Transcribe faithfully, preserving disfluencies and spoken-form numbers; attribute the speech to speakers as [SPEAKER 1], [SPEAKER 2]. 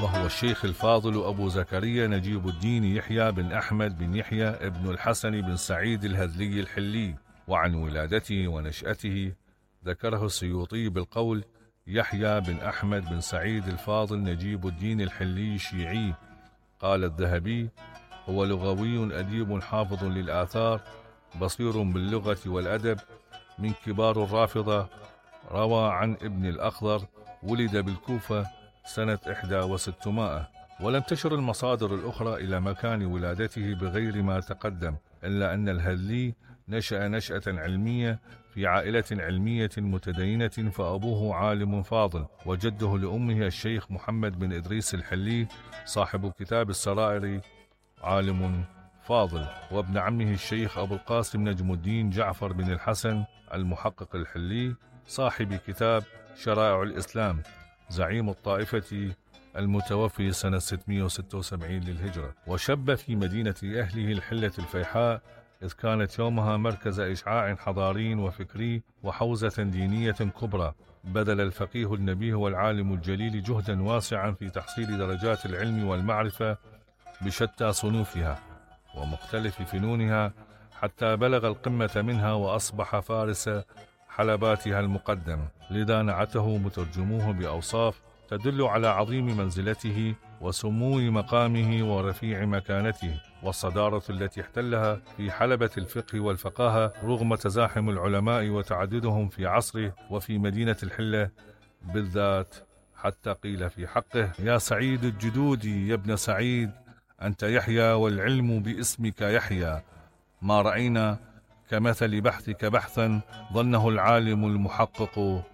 [SPEAKER 1] وهو الشيخ الفاضل أبو زكريا نجيب الدين يحيى بن أحمد بن يحيى ابن الحسن بن سعيد الهذلي الحلي. وعن ولادته ونشأته ذكره السيوطي بالقول: يحيى بن أحمد بن سعيد الفاضل نجيب الدين الحلي شيعي. قال الذهبي: هو لغوي أديب حافظ للآثار بصير باللغة والأدب، من كبار الرافضة. روى عن ابن الأخضر: ولد بالكوفة سنة إحدى وستمائة. ولم تشر المصادر الأخرى إلى مكان ولادته بغير ما تقدم، إلا أن الهذلي نشأ نشأة علمية في عائلة علمية متدينة، فأبوه عالم فاضل، وجده لأمه الشيخ محمد بن إدريس الحلي صاحب كتاب السرائر عالم فاضل، وابن عمه الشيخ أبو القاسم نجم الدين جعفر بن الحسن المحقق الحلي صاحب كتاب شرائع الإسلام، زعيم الطائفة المتوفي سنة ستمائة وستة وسبعين للهجرة. وشب في مدينة أهله الحلة الفيحاء، إذ كانت يومها مركز إشعاع حضاري وفكري وحوزة دينية كبرى. بذل الفقيه النبيه والعالم الجليل جهدا واسعا في تحصيل درجات العلم والمعرفة بشتى صنوفها ومختلف فنونها، حتى بلغ القمة منها وأصبح فارس حلباتها المقدم. لذا نعته مترجموه بأوصاف تدل على عظيم منزلته وسمو مقامه ورفيع مكانته، والصدارة التي احتلها في حلبة الفقه والفقاهة رغم تزاحم العلماء وتعددهم في عصره وفي مدينة الحلة بالذات، حتى قيل في حقه: يا سعيد الجدود يا ابن سعيد، أنت يحيى والعلم باسمك يحيى، ما رأينا كمثل بحثك بحثا ظنه العالم المحقق